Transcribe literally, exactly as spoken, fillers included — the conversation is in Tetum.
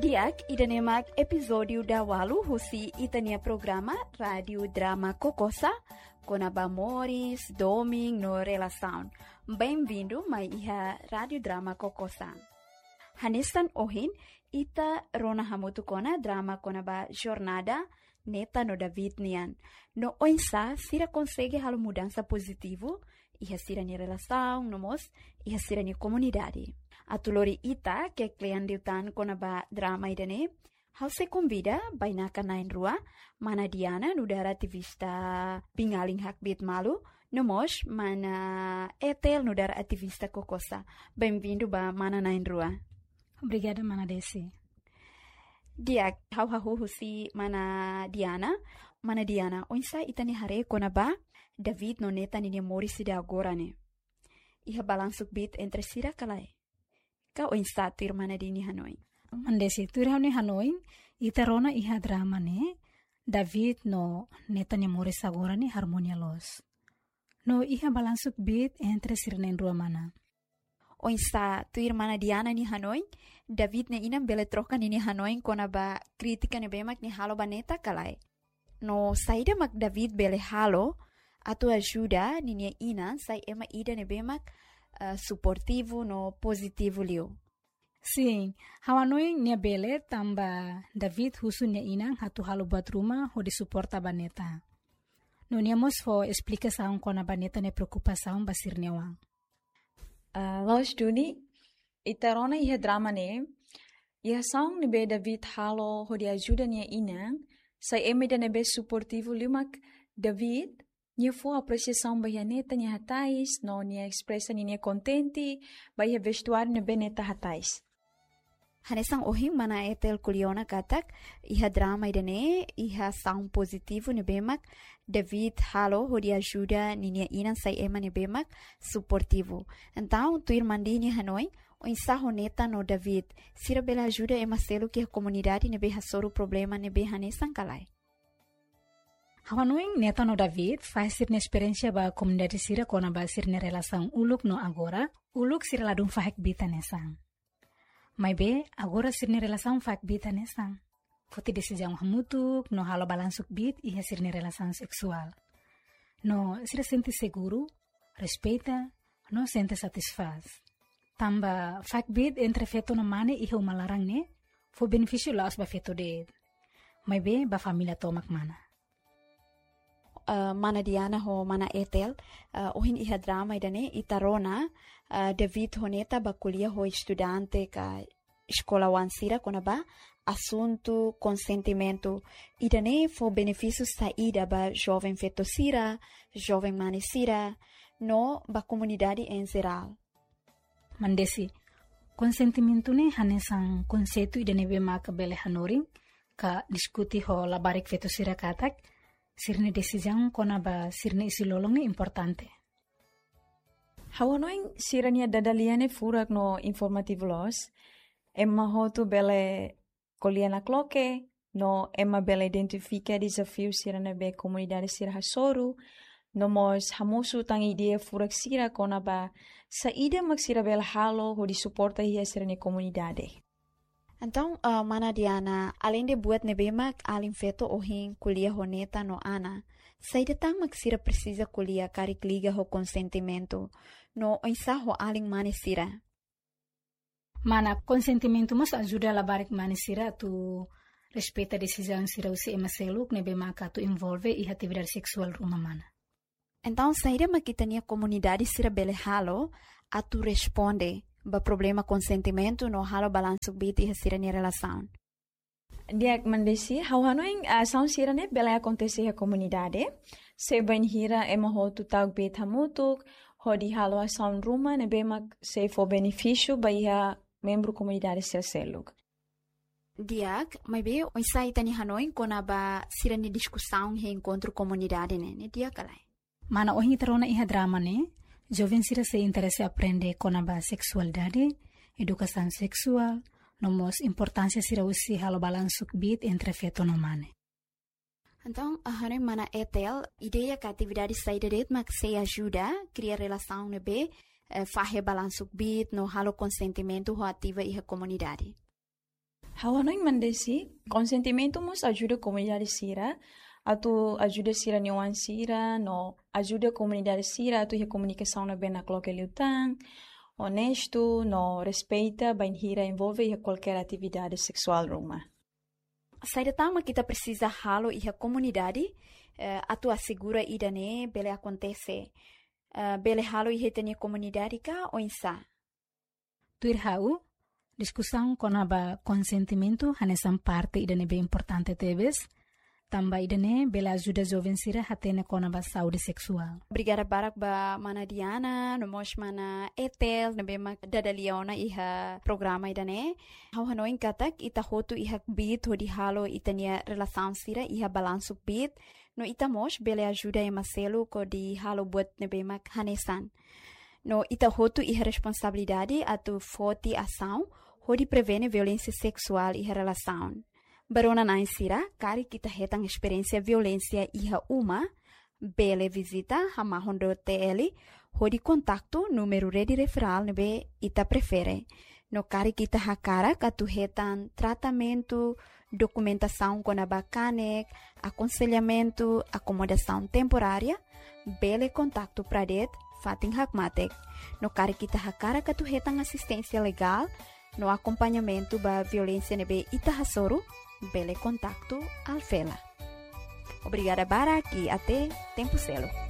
Di'ak, ida-ne'e mak epizódiu daualu husi ita-nia programa Rádiu Drama Kokosa, kona-ba moris, domin no relasaun. Benvindu mai iha Rádiu Drama Kokosa. Hanesan ohin, ita rona hamutuk ona drama kona-ba jornada Neta no David nian. No oinsá sira konsege halo mudansa pozitivu iha sira-nia relasaun, no mós iha sira-nia komunidade. Atu lori ita ke klean liután kona-ba drama ida-ne'e, ha'u sei konvida bainaka na'in-rua, mana Diana, nu'udar ativista biin-alin hakbiit malu, no mós mana Etel, nu'udar ativista kokosa. Benvindu ba mana na'in-rua. Obrigada, mana Desi. Di'ak, ha'u hahú husi mana Diana. Mana Diana, oinsá ita-nia haree kona-ba David no Neta ninia moris ida agora ne'e? Iha balansu kbiit entre sira ka lae? Ka oinsá tuir mana Diana nia hanoin? Mana Desi, tuir ha'u-nia hanoin, ita rona iha drama ne'e, David no Neta nia moris agora ne'e harmonia loos. No iha balansu kbiit entre sira na'in-rua mana. Oinsá tuir mana Diana nia hanoin, David nia inan bele troka ninia hanoin kona-ba krítika ne'ebé mak nia halo ba Neta ka lae? No saida mak David bele halo atu ajuda ninia inan sai ema ida ne'ebé mak, eh, suportivu no pozitivu liu? Sin, ha'u hanoin nia bele tanba David husu nia inan atu halo buat ruma hodi suporta ba Neta. No nia mós fó esplikasaun kona-ba Neta nia preokupasaun ba sira-nia oan. Ah, loos duni, ita rona iha drama ne'e, iha asaun ne'ebé David halo hodi ajuda nia inan sai ema ida ne'ebé suportivu liu mak David, nia fó apresiasaun ba iha Neta nia hatais, no nia espresa ninia kontente ba iha vestuáriu ne'ebé Neta hatais. Hanesan ohin mana Etel ko'alia ona katak, iha drama ida-ne'e, iha asaun pozitivu ne'ebé mak David halo hodi ajuda ninia inan sai ema ne'ebé mak suportivu. Entaun, tuir mana Diana nia hanoin, oinsá ho Neta no David, sira bele ajuda ema seluk iha komunidade ne'ebé hasoru problema ne'ebé hanesan ka lae? Ha'u hanoin Neta no David fahe sira-nia esperiénsia ba komunidade sira kona-ba sira-nia relasaun uluk no agora, uluk sira ladún fahe kbiit hanesan. Maibé, agora sira-nia relasaun fahe kbiit hanesan. Foti desizaun hamutuk, no halo balansu kbiit iha sira-nia relasaun seksuál. No sira sente seguru, respeita, no sente satisfás. Tanba fahe kbiit entre feto no mane iha uma laran ne'e, fó benefísiu la'ós ba feto de'it. Maibé, ba família tomak mana. Ah, mana Diana ho mana Etel, ah, ohin iha drama ida-ne'e ita rona, ah, David ho Neta bá ko'alia ho estudante ka eskola-oan sira kona-ba asuntu konsentimentu. Ida-ne'e fó benefísiu saida ba joven feto sira, joven mane sira, no ba komunidade em geral? Mana Desi, konsentimentu ne'e hanesan konseitu ida ne'ebé maka bele hanorin ka diskute ho labarik feto sira katak, sira-nia desizaun kona-ba sira-nia isin-lolon ne'e importante. Ha'u hanoin sira-nia dada-lia ne'e furak no informativu loos. Ema hotu bele ko'alia nakloke, no ema bele identifika dezafiu sira ne'ebé komunidade sira hasoru, no mós hamosu tan ideia furak sira kona-ba saida mak sira bele halo hodi suporta iha sira-nia komunidade. Entaun, ah, mana Diana, aleinde buat ne'ebé mak alin feto ohin ko'alia ho Neta no Ana, saida tan mak sira presiza ko'alia karik liga ho konsentimentu, no oinsá ho alin mane sira? Mana, konsentimentu mós ajuda labarik mane sira atu respeita desizaun sira husi ema seluk ne'ebé maka atu envolve iha atividade seksuál ruma mana. Entaun, saida mak ita-nia komunidade sira bele halo atu responde ba problema konsentimentu no halo balansu kbiit iha sira-nia relasaun? Di'ak mana Desi, ha'u hanoin, ah, asaun sira-ne'e bele akontese iha komunidade, se bainhira ema hotu tau kbiit hamutuk, hodi halo asaun ruma ne'ebé mak sei fó benefísiu ba iha membru komunidade sira seluk. Di'ak, maibé oinsá ita-nia hanoin kona-ba sira-nia diskusaun iha enkontru komunidade ne'e, ne'e di'ak ka lae? Mana, ohin ita rona iha drama ne'e, joven sira sei interese aprende kona-ba seksualidade, edukasaun seksuál, no mós importánsia sira husi halo balansu kbiit entre feto no mane. Entaun, ah, hanoin mana Etel, ideia ka atividade saida de'it mak sei ajuda kria relasaun ne'ebé, eh, fahe balansu kbiit no halo konsentimentu ho ativa iha komunidade? Ha'u hanoin, Mana Desi, konsentimentu mós ajuda komunidade sira atu ajuda sira-nia oan sira, no ajuda komunidade sira atu iha komunikasaun ne'ebé nakloke liután, onestu, no respeita bainhira envolve iha kualkér atividade seksuál ruma. Saida tan mak ita presiza halo iha komunidade, eh, atu asegura ida-ne'e bele akontese? Eh, bele halo iha ita-nia komunidade ka oinsá? Tuir ha'u, diskusaun kona-ba konsentimentu hanesan parte ida ne'ebé importante tebes, tanba ida-ne'e bele ajuda joven sira hatene kona-ba saúde seksuál. Obrigada barak ba Mana Diana, no mós Mana Etel, ne'ebé mak dada lia ona iha programa ida-ne'e. Ha'u hanoin katak ita hotu iha kbiit hodi halo ita-nia relasaun sira iha balansu kbiit, no ita mós bele ajuda ema seluk hodi halo buat ne'ebé mak hanesan. No ita hotu iha responsabilidade atu foti asaun hodi prevene violénsia seksuál iha relasaun. Ba rona-na'in sira, karik ita hetan esperiénsia violénsia iha uma, bele vizita hamahon dot T L hodi kontaktu númeru rede referál ne'ebé ita prefere. No karik ita hakarak atu hetan tratamentu, dokumentasaun kona-ba kanek, akonselhamentu, akomodasaun temporária, bele kontaktu Pradet fatin hakmatek. No karik ita hakarak atu hetan asisténsia legál no akompañamentu ba violénsia ne'ebé ita hasoru, bele kontaktu Alfela. Obrigada barak i até tempu seluk.